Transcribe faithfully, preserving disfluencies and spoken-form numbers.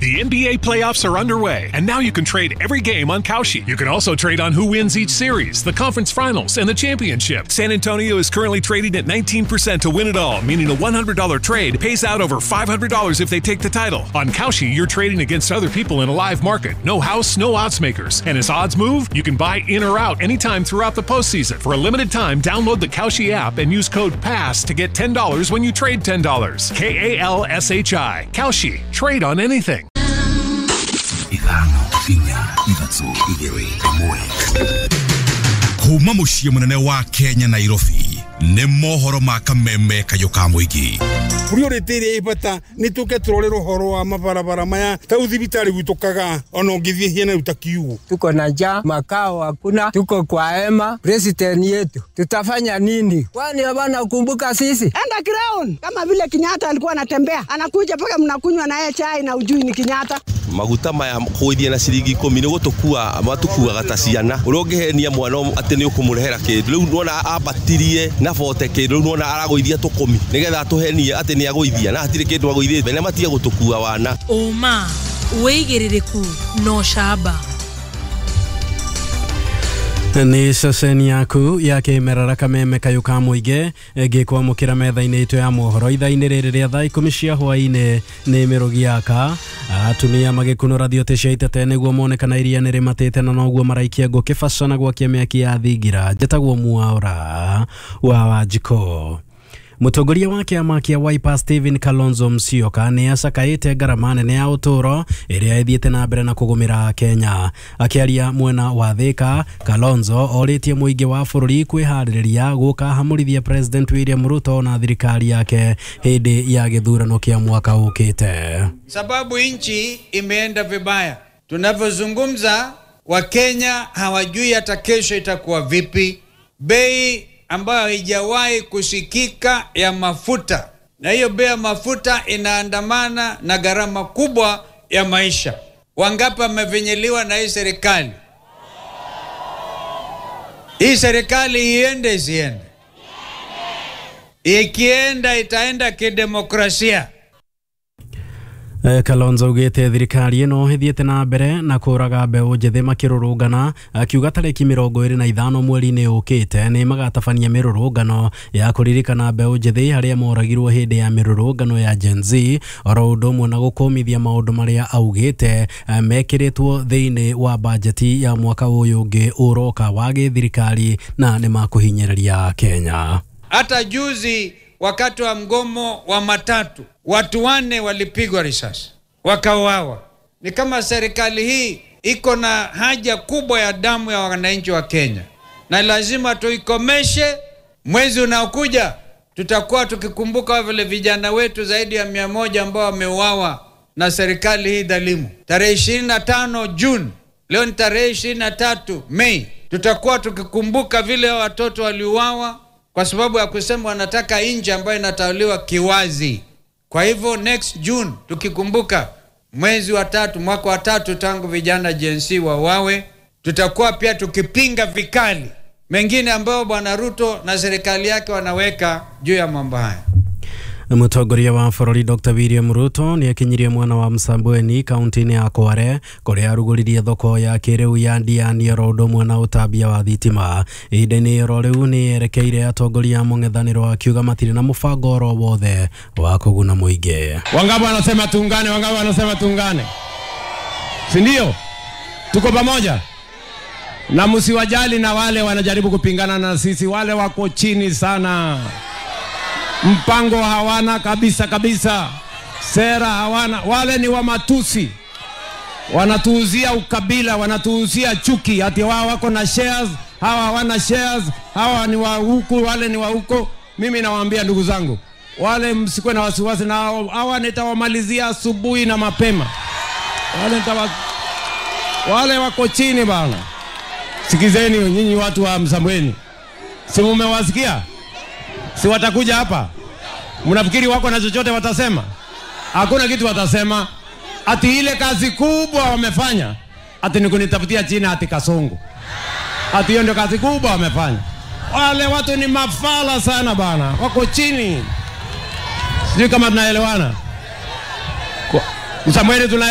The N B A playoffs are underway, and now you can trade every game on Kalshi. You can also trade on who wins each series, the conference finals, and the championship. San Antonio is currently trading at nineteen percent to win it all, meaning a one hundred dollar trade pays out over five hundred dollars if they take the title. On Kalshi, you're trading against other people in a live market. No house, no odds makers. And as odds move, you can buy in or out anytime throughout the postseason. For a limited time, download the Kalshi app and use code PASS to get ten dollars when you trade ten dollars. K A L S H I. Kalshi. Trade on anything. Ithano, inya, ithatũ, igĩrĩ, ĩmwe. Kuma mũciĩ mũnene wa Kenya Nairobi nĩ mohoro ma kameme kayũ ka mũingĩ. Priority ĩrĩa ĩ bata nĩ tũke tũrore ũhoro wa mabarabara maya ta thibitarĩ gwitũ Kagaa ona ũngĩthiĩ hiana rĩu ta kiugo. Tuko na njaa, makao hakuna, tuko kwa hema. President yetu tutafanya nini? Kwani hawana kumbuka sisi? Enda ground kama vile Kenyatta alikuwa anatembea, anakuja mpaka mnakunywa na yeye chai na ujui ni Kenyatta. Maguta maya kũgũithia na ciringi ikũmi nĩ gũtũkua matũkuaga ta ciana. Ũrĩa ũngĩhenia mwana atĩ nĩ ũkũmũrehera kĩndũ rĩu nĩwona ambatirie na bote kĩndũ rĩu nĩwona aragũithia tũkũmi nĩgetha atũhenie atĩ nĩ agũithia na hatirĩ kĩndũ agũithĩte na matige gũtũkua wana. Ũma wĩigĩrĩrĩku no camba. Nĩ ceceni yaku ya kĩmerera kameme kayũ ka mũingĩ ngĩkwamũkĩra metha-inĩ itũ ya mohoro ithaa-inĩ rĩrĩ rĩa thaa ikũmi cia hwaĩ-inĩ nĩ mĩrũgi yaka atumia magĩkunũra thiote cia itete nĩguo mone kana iria nĩ rĩmatĩte na noguo maraikia ngũ kĩbaco na gwakia mĩaki ya thingira. Njĩtagwo Mwaura wa Wanjikũ. Mũtongoria wa kĩama kĩa Wiper Stephen Kalonzo Musyoka nĩ acakaĩte ngarama nene ya ũtũũro ĩrĩa ĩthiĩte na mbere na kũgũmĩra Kenya. Akĩaria mwena wa Thika, Kalonzo orĩtie mũingĩ wa bũrũri kwĩharĩrĩria gũkahamũrithia President William Ruto na thirikari yake hĩndĩ ya gĩthurano kĩa mwaka ũkĩte. Sababu nchi imeenda vibaya. Tunavyozungumza Wakenya hawajui hata kesho itakuwa vipi. Bei ambayo haijawahi kusikika ya mafuta. Na hiyo bei ya mafuta inaandamana na gharama kubwa ya maisha. Wangapi wamevinyiliwa na hii serikali? Hii serikali iende isiende? Ikienda itaenda kidemokrasia. Kalonzo augĩte thirikari ĩno ĩthiĩte na mbere na kũraga mbeũ njĩthĩ makĩrũrũngana, akiuga tarĩki mĩrongo ĩrĩ na ithano mweri-inĩ ũkĩte nĩ magatabania mĩrũrũngano ya kũririkana mbeũ njĩthĩ arĩa moragirwo hĩndĩ ya mĩrũrũngano ya Gen Z, oro ũndũ ũmwe na gũkũmithia maũndũ marĩa augĩte mekĩrĩtwo thĩinĩ wa bajeti ya mwaka ũyũ ũngĩ ũroka wa gĩthirikari na nĩ makũhinyĩrĩria Kenya. Hata juzi wakati wa mgomo wa matatu watu wane walipigwa risasi wakauawa. Ni kama serikali hii iko na haja kubwa ya damu ya wananchi wa Kenya, na lazima tuikomeshe. Mwezi unaokuja tutakuwa tukikumbuka vile vijana wetu zaidi ya mia moja ambao wameuawa na serikali hii dhalimu. Tarehe ishirini na tano Juni, leo ni tarehe ishirini na tatu Mei, tutakuwa tukikumbuka vile watoto waliuawa kwa sababu ya kusema wanataka nchi ambayo inatawaliwa kiwazi. Kwa hivyo next June tukikumbuka mwezi wa tatu, mwaka wa tatu tangu vijana Gen Z wawawe, tutakuwa pia tukipinga vikali mengine ambayo Bwana Ruto na serikali yake wanaweka juu ya mambo haya. Mũtongoria wa bũrũri Doctor William Ruto nĩ akinyirie mwena wa Msambweni kaunti-inĩ ya Kwale kũrĩa arugũririe thoko ya kĩrĩu ya Ndiani oro ũndũ ũmwe na ũtambia wa thitima. Ihinda-inĩ oro rĩu nĩ erekeire atongoria a mũng'ethanĩro akiuga matirĩ na mũbango oro wothe wa kũguna mũingĩ. Wangapi wanasema tuungane? Wangapi wanasema tuungane? Si ndio? Tuko pamoja. Na msiwajali na wale wanajaribu kupingana na sisi, wale wako chini sana. Mpango hawana kabisa kabisa, sera hawana, wale ni wa matusi. Wanatuuzia ukabila, wanatuuzia chuki, ati wao wako na shares, hawa hawana shares, hawa ni wa huku, wale ni wa huko. Mimi nawaambia ndugu zangu, wale msikuwe na wasiwasi na hawa nitawamalizia asubuhi na mapema. Wale nitawa, wale wako chini bana. Sikizeni nyinyi watu wa Msambweni. Si mmewasikia? Si watakuja hapa? Mnafikiri wako na chochote watasema? Hakuna kitu watasema. Ati ile kazi kubwa wamefanya, ati ni kunitafutia jina ati Kasongo. Ati hiyo ndio kazi kubwa wamefanya. Wale watu ni mafala sana bana, wako chini. Sijui kama tunaelewana. Msambweni tuna